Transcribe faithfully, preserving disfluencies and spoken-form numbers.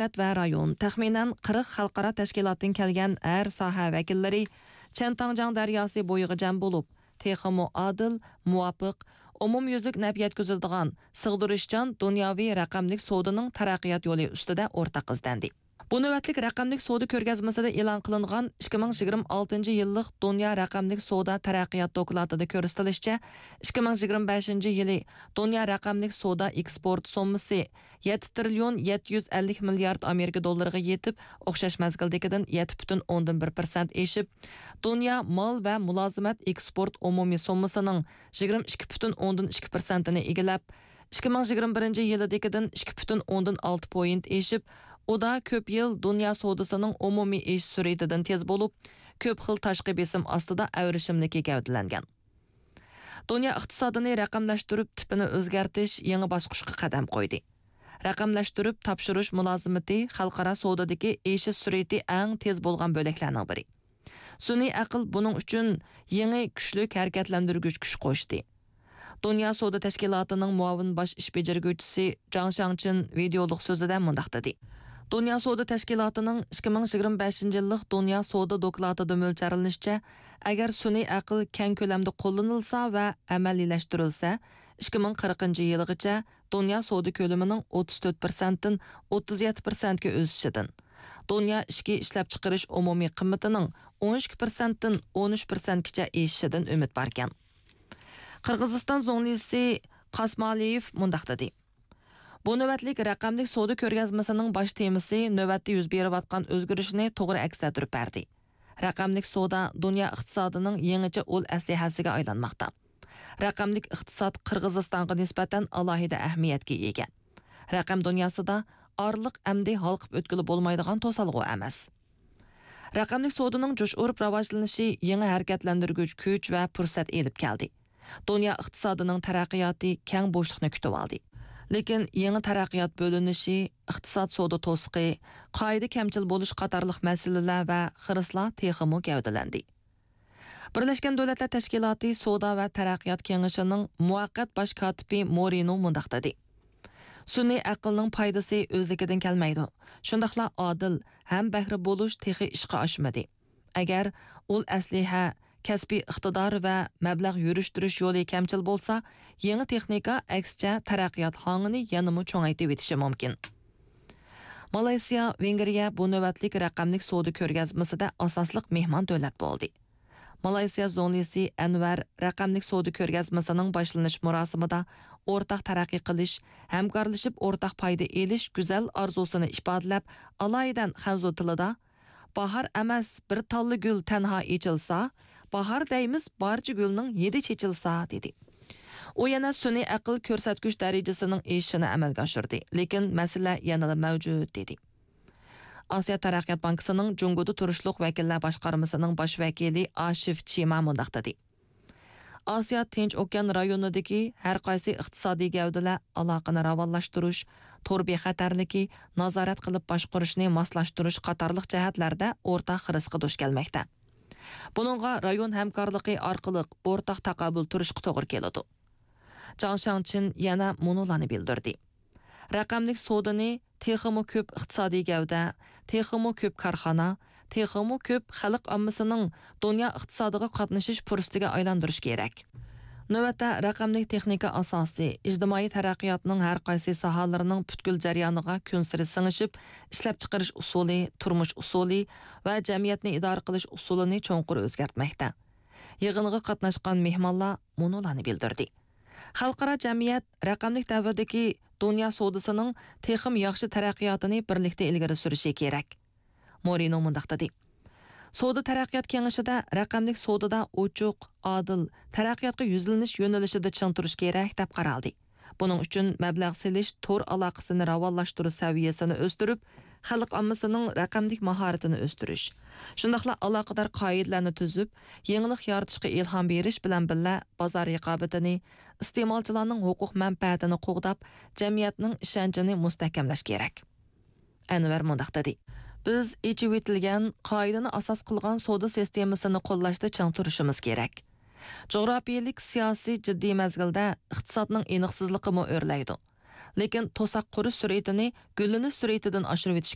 دۆلەت ۋە رايون، تەخمىنەن قىرىق خەلقئارا تەشكىلاتتىن كەلگەن ھەر ساھە ۋەكىللىرى چيەنتاڭجياڭ دەرياسى بويىغا جەم بولۇپ، تېخىمۇ ئادىل، مۇۋاپىق، ئومۇميۈزلۈك نەپ يەتكۈزىدىغان، سىغدۇرۇشچان دۇنياۋى رەقەملىك سودىنىڭ تەرەققىيات يولى ئۈستىدە ئورتاق ئىزدەندى. بۇ نۆۋەتلىك رەقەملىك سودا كۆرگەزمىسىدە ئېلان قىلىنغان ئىككى مىڭ يىگىرمە ئالتىنچى يىللىق دۇنيا رەقەملىك سودا تەرەققىيات دوكلاتىدا كۆرسىتىلىشىچە، ئىككى مىڭ يىگىرمە بەشىنچى يىلى دۇنيا رەقەملىك سودا ئېكسپورت سوممىسى يەتتە تىرىليون يەتتە يۈز ئەللىك مىليارد ئامېرىكا دوللىرىغا يېتىپ، ئوخشاش مەزگىلدىكىدىن يەتتە پۈتۈن ئوندىن بىر پىرسەنت ئېشىپ، دۇنيا مال ۋە مۇلازىمەت ئېكسپورت ئومۇمىي سوممىسىنىڭ يىگىرمە ئىككى پۈتۈن ئوندىن ئىككى پىرسەنتىنى ئىگىلەپ، ئىككى مىڭ يىگىرمە بىرىنچى يىلىدىكىدىن ئىككى پۈتۈن ئوندىن ئالتە پوينت ئېشىپ، ئۇ دا كۆپ يىل دۇنيا سودىسىنىڭ ئومۇمىي ئېشىش سۈرئىتىدىن تېز بولۇپ، كۆپ خىل تاشقى بېسىم ئاستىدا ئەۋرىشىملىكى گەۋدىلەنگەن. دۇنيا ئىقتىسادىنى رەقەملەشتۈرۈپ تىپىنى ئۆزگەرتىش يېڭى باسقۇچقا قەدەم قويدى. رەقەملەشتۈرۈپ تاپشۇرۇش مۇلازىمىتى خەلقئارا سودىدىكى ئېشىش سۈرئىتى ئەڭ تېز بولغان بۆلەكلەرنىڭ بىرى. سۈنئىي ئەقىل بۇنىڭ ئۈچۈن يېڭى كۈچلۈك ھەرىكەتلەندۈرگۈچ كۈچ قوشتى. دۇنيا سودا تەشكىلاتىنىڭ مۇئاۋىن باش ئىش بېجىرگۈچىسى جاڭ شاڭچىن ۋىدېئولۇق سۆزىدە مۇنداق دېدى: دۇنيا سودا تەشكىلاتىنىڭ ئىككى مىڭ يىگىرمە بەشىنچى يىللىق دۇنيا سودا دوكلاتىدا مۆلچەرلىنىشىچە، ئەگەر سۈنئىي ئەقىل كەڭ كۆلەمدە قوللىنىلسا ۋە ئەمەلىيلەشتۈرۈلسە، ئىككى مىڭ قىرىقىنچى يىلىغىچە دۇنيا سودا كۆلىمىنىڭ ئوتتۇز تۆت پىرسەنتتىن ئوتتۇز يەتتە پىرسەنتكە ئۆسۈشىدىن، دۇنيا ئىچكى ئىشلەپچىقىرىش ئومۇمىي قىممىتىنىڭ ئون ئىككى پىرسەنتتىن ئون ئۈچ پىرسەنتكىچە ئېشىشىدىن ئۈمىد باركەن. قىرغىزىستان زۇڭلىسى قاسمالىيېف مۇنداق دېدى: بۇ نۆۋەتلىك رەقەملىك سودا كۆرگەزمىسىنىڭ باش تېمىسى نۆۋەتتە يۈز بېرىۋاتقان ئۆزگىرىشنى توغرا ئەكس ئەتتۈرۈپ بەردى. رەقەملىك سودا دۇنيا ئىقتىسادىنىڭ يېڭىچە ئۇل ئەسلىھەسىگە ئايلانماقتا. رەقەملىك ئىقتىساد قىرغىزىستانغا نىسبەتەن ئالاھىدە ئەھمىيەتكە ئىگە. رەقەم دۇنياسىدا ئارىلىق ئەمدى ھالقىپ ئۆتكىلى بولمايدىغان توسالغۇ ئەمەس. رەقەملىك سودىنىڭ جۇش ئۇرۇپ راۋاجلىنىشى يېڭى ھەرىكەتلەندۈرگۈچ كۈچ ۋە پۇرسەت ئېلىپ كەلدى. دۇنيا ئىقتىسادىنىڭ تەرەققىياتى كەڭ بوشلۇقنى كۈتۈۋالدى. لېكىن يېڭى تەرەققىيات بۆلۈنۈشى، ئىقتىساد سودا توسۇقى، قائىدە كەمچىل بولۇش قاتارلىق مەسىلىلەر ۋە خىرىسلار تېخىمۇ گەۋدىلەندى. بىرلەشكەن دۆلەتلەر تەشكىلاتى سودا ۋە تەرەققىيات كېڭىشىنىڭ مۇۋەققەت باش كاتىپى مورىنو مۇنداق دېدى: سۈنئىي ئەقىلنىڭ پايدىسى ئۆزلۈكىدىن كەلمەيدۇ. شۇنداقلا ئادىل ھەم بەھرە بولۇش تېخى ئىشقا ئاشمىدى. ئەگەر ئۇل ئەسلىھە، كەسپىي ئىقتىدار ۋە مەبلەغ يۈرۈشتۈرۈش يولى كەمچىل بولسا، يېڭى تېخنىكا ئەكسىچە تەرەققىيات ھاڭىنى يەنىمۇ چوڭايتىۋېتىشى مۇمكىن. مالايسىيا، ۋېنگرىيە بۇ نۆۋەتلىك رەقەملىك سودا كۆرگەزمىسىدە ئاساسلىق مېھمان دۆلەت بولدى. مالايسىيا زۇڭلىسى ئەنۋەر رەقەملىك سودا كۆرگەزمىسىنىڭ باشلىنىش مۇراسىمىدا ئورتاق تەرەققىي قىلىش، ھەمكارلىشىپ ئورتاق پايدا ئېلىش گۈزەل ئارزۇسىنى ئىپادىلەپ، ئالايىتەن خەنزۇ تىلىدا، «باھار ئەمەس، بىر تاللا گۈل تەنھا ئېچىلسا، باھار دەيمىز، بارچە گۈلنىڭ ھىدى چېچىلسا» دېدى. ئۇ يەنە سۈنئىي ئەقىل كۆرسەتكۈچ دەرىجىسىنىڭ ئېشىشىنى ئەمەلگە ئاشۇردى، لېكىن مەسىلە يەنىلا مەۋجۇت، دېدى. ئاسىيا تەرەققىيات بانكىسىنىڭ جۇڭگودا تۇرۇشلۇق ۋەكىللەر باشقارمىسىنىڭ باش ۋەكىلى ئاشىف چىما مۇنداق دېدى: ئاسىيا تىنچ ئوكيان رايونىدىكى ھەر قايسى ئىقتىسادىي گەۋدىلەر ئالاقىنى راۋانلاشتۇرۇش، تور بىخەتەرلىكى، نازارەت قىلىپ باشقۇرۇشنى ماسلاشتۇرۇش قاتارلىق جەھەتلەردە ئورتاق خىرىسقا دۇچ كەلمەكتە. بۇنىڭغا رايون ھەمكارلىقى ئارقىلىق ئورتاق تاقابىل تۇرۇشقا توغرا كېلىدۇ. جاڭ شاڭچىن يەنە مۇنۇلارنى بىلدۈردى: رەقەملىك سودىنى تېخىمۇ كۆپ ئىقتىسادىي گەۋدە، تېخىمۇ كۆپ كارخانا، تېخىمۇ كۆپ خەلق ئاممىسىنىڭ دۇنيا ئىقتىسادىغا قاتنىشىش پۇرسىتىگە ئايلاندۇرۇش كېرەك. نۆۋەتتە رەقەملىك تېخنىكا ئاساسى، ئىجتىمائىي تەرەققىياتنىڭ ھەر قايسى ساھەلىرىنىڭ پۈتكۈل جەريانىغا كۈنسېرى سىڭىشىپ، ئىشلەپچىقىرىش ئۇسۇلى، تۇرمۇش ئۇسۇلى ۋە جەمئىيەتنى ئىدارە قىلىش ئۇسۇلىنى چوڭقۇر ئۆزگەرتمەكتە. يىغىنغا قاتناشقان مېھمانلار مۇنۇلارنى بىلدۈردى: خەلقئارا جەمئىيەت رەقەملىك دەۋردىكى دۇنيا سودىسىنىڭ تېخىمۇ ياخشى تەرەققىياتىنى بىرلىكتە ئىلگىرى سۈرۈشى كېرەك. مورىنو مۇنداق دېدى: سودا تەرەققىيات كېڭىشىدە رەقەملىك سودىدا ئوچۇق، ئادىل، تەرەققىياتقا يۈزلىنىش يۆنىلىشىدە چىڭ تۇرۇش كېرەك، دەپ قارالدى. بۇنىڭ ئۈچۈن مەبلەغ سېلىش تور ئالاقىسىنى راۋانلاشتۇرۇش سەۋىيەسىنى ئۆستۈرۈپ، خەلق ئاممىسىنىڭ رەقەملىك ماھارىتىنى ئۆستۈرۈش، شۇنداقلا ئالاقىدار قائىدىلەرنى تۈزۈپ، يېڭىلىق يارىتىشقا ئىلھام بېرىش بىلەن بىللە، بازار رىقابىتىنى، ئىستېمالچىلارنىڭ ھوقۇق مەنپەئەتىنى قوغداپ، جەمئىيەتنىڭ ئىشەنچىنى مۇستەھكەملەش كېرەك. ئەنۋەر مۇنداق دېدى: بىز ئېچىۋېتىلگەن، قائىدىنى ئاساس قىلغان سودا سىستېمىسىنى قوللاشتا چىڭ تۇرۇشىمىز كېرەك. جۇغراپىيەلىك سىياسىي جىددىي مەزگىلدە ئىقتىسادنىڭ ئېنىقسىزلىقىمۇ ئۆرلەيدۇ. لېكىن توساق قۇرۇش سۈرئىتىنى گۈللىنىش سۈرئىتىدىن ئاشۇرۇۋېتىش